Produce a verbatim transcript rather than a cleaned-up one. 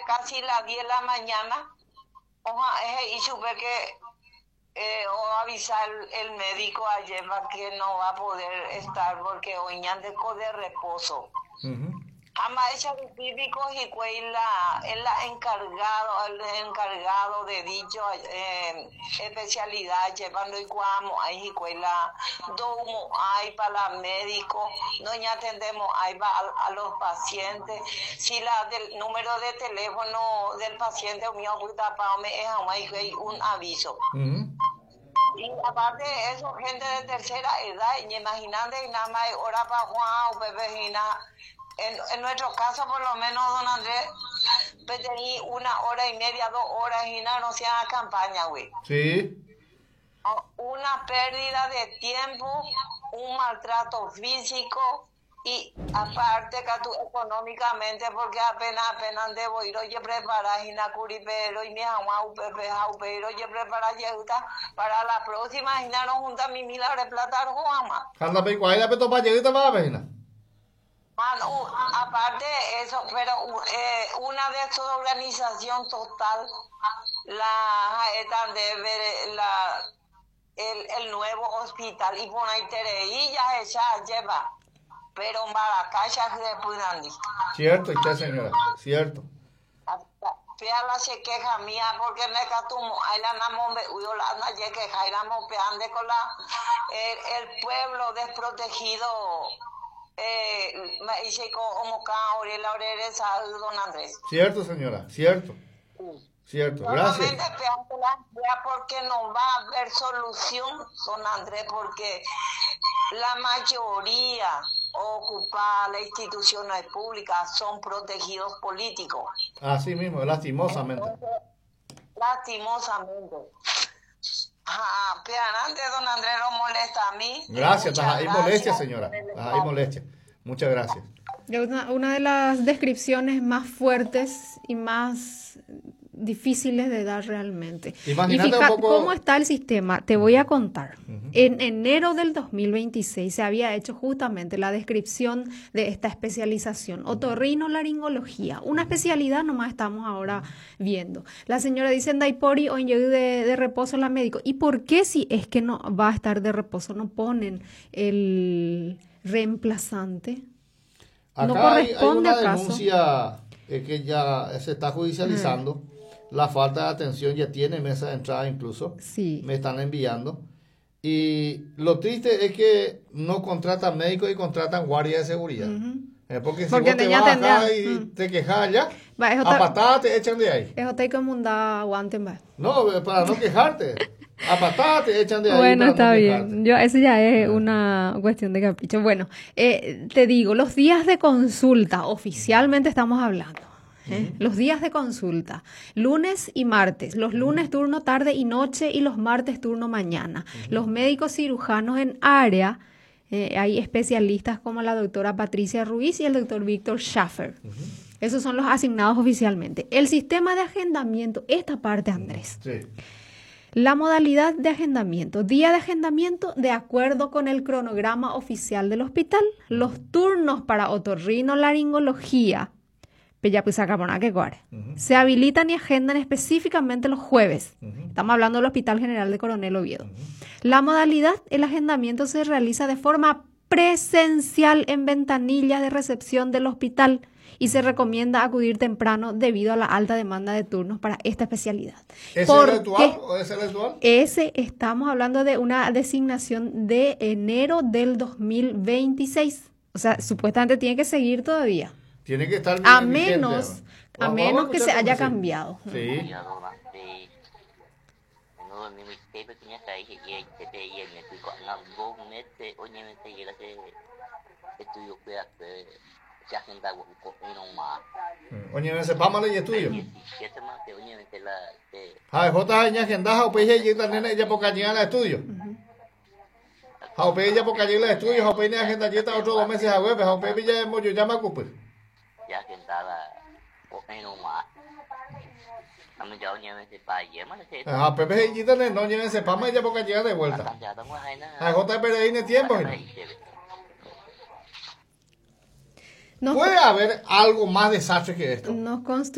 Casi las diez de la mañana, oja, y supe que eh, o avisar el médico ayer que no va a poder estar porque hoy de reposo. Uh Ama ella típico y la, el encargado, el encargado de dicho eh, especialidad, llevando y cuamo, ahí la domo hay para médico, no ya atendemos ahí va a, a, los pacientes. Si la del número de teléfono del paciente mío es un aviso. Uh -huh. Y aparte de eso, gente de tercera edad, y imaginando y nada más hora para Juan o Pepe en, en nuestro caso, por lo menos, don Andrés, pues tenía una hora y media, dos horas y nada, no sea campaña, güey. Sí. Una pérdida de tiempo, un maltrato físico y aparte que tú económicamente, porque apenas, apenas debo ir, oye, preparar y pero y mi agua, upepe, pero oye, preparar para la próxima, y no junta mi mil de plata, Juanma. Anda, pe, ahí la peto pa' llegar, va, pejina. Ah, no, aparte de eso, pero eh, una desorganización total, la de ver la, el, el nuevo hospital y por ahí ya ella lleva, pero Maracaya de Punandi. Cierto, usted señora, cierto. La se queja mía porque me catumo, ahí la namombe, uyo la na ye queja, y la mopeande con la el, el pueblo desprotegido. Eh, don Andrés. Cierto, señora, cierto. Cierto, gracias. Porque no va a haber solución, don Andrés, porque la mayoría ocupa las instituciones públicas son protegidos políticos. Así mismo, lastimosamente. Entonces, lastimosamente. Ah, pero antes don Andrés lo molesta a mí. Gracias, hay molestia, señora. Hay molestia. Muchas gracias. Una, una de las descripciones más fuertes y más difíciles de dar realmente. Imagínate y fíjate un poco... cómo está el sistema. Te voy a contar. Uh-huh. En enero del dos mil veintiséis se había hecho justamente la descripción de esta especialización, otorrinolaringología, una especialidad nomás estamos ahora viendo. La señora dice en Daipori o en de, de reposo la médico. ¿Y por qué si es que no va a estar de reposo no ponen el reemplazante? Acá ¿No hay, corresponde hay una acaso? denuncia eh, que ya se está judicializando. Uh-huh. La falta de atención ya tiene mesa de entrada incluso. Sí. Me están enviando. Y lo triste es que no contratan médicos y contratan guardias de seguridad. Uh-huh. Eh, porque si porque vos te ya vas acá tendría... y mm. te quejas allá, va, es a otra... patadas te echan de ahí. Es otra como un da aguante, va. No, para no quejarte. A patadas te echan de ahí. Bueno, para está no bien. Yo, eso ya es una cuestión de capricho. Bueno, eh, te digo, los días de consulta, oficialmente estamos hablando. ¿Eh? Los días de consulta, lunes y martes, los lunes turno tarde y noche y los martes turno mañana. Uh-huh. Los médicos cirujanos en área, eh, hay especialistas como la doctora Patricia Ruiz y el doctor Víctor Schaffer. Uh-huh. Esos son los asignados oficialmente. El sistema de agendamiento, esta parte, Andrés. Sí. La modalidad de agendamiento, día de agendamiento de acuerdo con el cronograma oficial del hospital, los turnos para otorrinolaringología, Uh-huh. se habilitan y agendan específicamente los jueves. Uh-huh. Estamos hablando del Hospital General de Coronel Oviedo. Uh-huh. La modalidad, el agendamiento se realiza de forma presencial en ventanillas de recepción del hospital y se recomienda acudir temprano debido a la alta demanda de turnos para esta especialidad. ¿Ese ¿Por es el actual qué? o ese es el actual? Ese, estamos hablando de una designación de enero del dos mil veintiséis. O sea, supuestamente tiene que seguir todavía. Tiene que estar a vigente, menos, a Vamos, menos vamos a que se escuchar haya cómo sí. cambiado. Sí. Oye, se pama le estudio. Ja, J aña agendaja o peje y nena ella poca llega al estudio. Ja, o peje ella poca llega al estudio, ja, o peje agenda yeta otro dos meses a web, ja, o peje ya yo llama cupe. Ja, pepe y nena no lleven se pama ella poca llega de vuelta. Ja, J P R I tiempo. Nos ¿Puede haber algo más desastre que esto? Nos constru-